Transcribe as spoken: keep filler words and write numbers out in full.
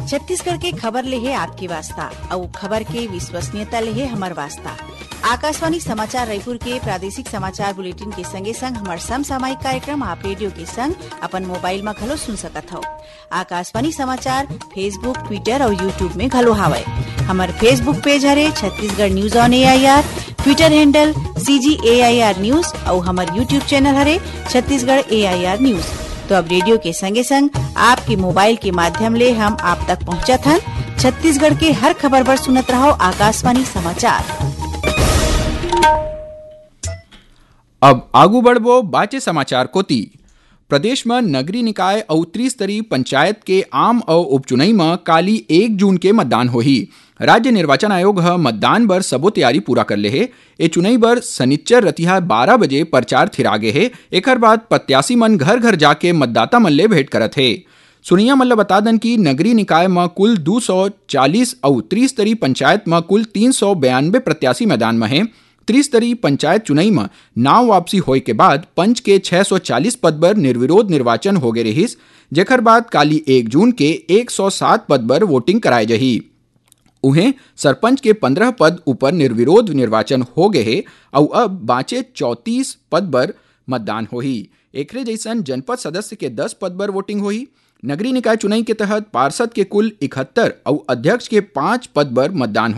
छत्तीसगढ़ के खबर ले हे आपके वास्ता, अउ खबर के विश्वसनीयता ले हे हमर वास्ता। आकाशवाणी समाचार रायपुर के प्रादेशिक समाचार बुलेटिन के संगे संग हमर समसामयिक कार्यक्रम आप रेडियो के संग अपन मोबाइल म घलो सुन सकत हव। आकाशवाणी समाचार Facebook, Twitter अउ YouTube में घलो हावय। हमर Facebook पेज हरे Chhattisgarh news on AIR, Twitter handle CG AIR news अउ हमर YouTube चैनल हरे छत्तीसगढ़ एआईआर न्यूज। तो अब रेडियो के संगे संग आपके मोबाइल के माध्यम ले हम आप तक पहुंचत हन। छत्तीसगढ़ के हर खबर बर सुनत रहव आकाशवाणी समाचार। अब आगू बढ़बो बाचे समाचार कोती। प्रदेश म नगरीय निकाय अउ त्रिस्तरीय पंचायत के आम अउ उपचुनई म काली एक जून के मतदान होही। राज्य निर्वाचन आयोग ह मतदान बर सबो तैयारी पूरा कर ले हे। ए चुनई बर सनिच्चर रतिहा बारह बजे प्रचार थिरा गे हे। एखर बाद प्रत्याशी मन घर-घर जाके मतदाता मन ले भेंट करत हे। सुनइया मन ल बता दन कि नगरीय निकाय म कुल दू सौ चालीस अउ त्रिस्तरीय पंचायत म कुल तीन सौ बयानबे प्रत्याशी मैदान म हे। त्रिस्तरीय पंचायत चुनई म नाव वापसी होय के बाद पंच के छह सौ चालीस पद बर निर्विरोध निर्वाचन होगे रिहिस, जेखर बाद काली एक जून के एक सौ सात पद बर वोटिंग कराय जाही। उहें, सरपंच के पंद्रह पद ऊपर निर्विरोध निर्वाचन हो गए हे, अउ अब बांचे चौंतीस पद बर मतदान होही। एकरे जइसन जनपद सदस्य के दस पद बर वोटिंग होही। नगरीय निकाय चुनई के तहत पार्षद के कुल इकहत्तर अउ अध्यक्ष के पांच पद बर मतदान